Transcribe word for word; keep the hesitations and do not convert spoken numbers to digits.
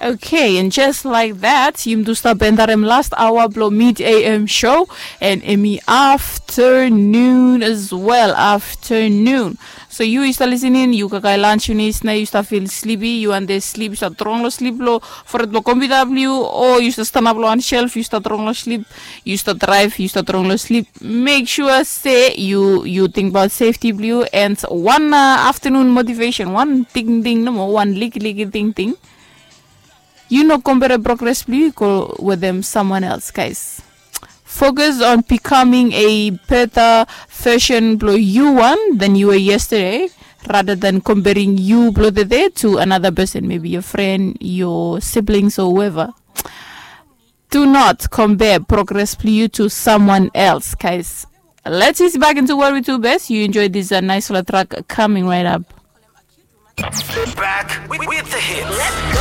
Okay, and just like that, yumi tu stap endarem last hour blo mid am show, and emi afternoon as well, afternoon. So yu yu stap listening, yu kakae lunch finis, na yu stap feel sleepy, yu wan de sleep, yu stap drong lo sleep lo foret blo computer blo yu, o yu stap stanap lo wan shelf, yu stap drong lo sleep, yu stap drive, yu stap drong lo sleep. Make sure se yu yu think about safety blo yu, and wan uh, afternoon motivation, wan tingting nomo, wan likiliki tingting. Yu no compare progress blo yu go wetem someone else, guys. Focus on becoming a better version blo yu wan than you were yesterday, rather than comparing yu blo tede to another person, maybe your friend, your siblings, or whoever. Do not compare progress blo yu to someone else, guys. Let's ease back into what we do best. You enjoy this uh, nice little track coming right up. Back with, with the hits.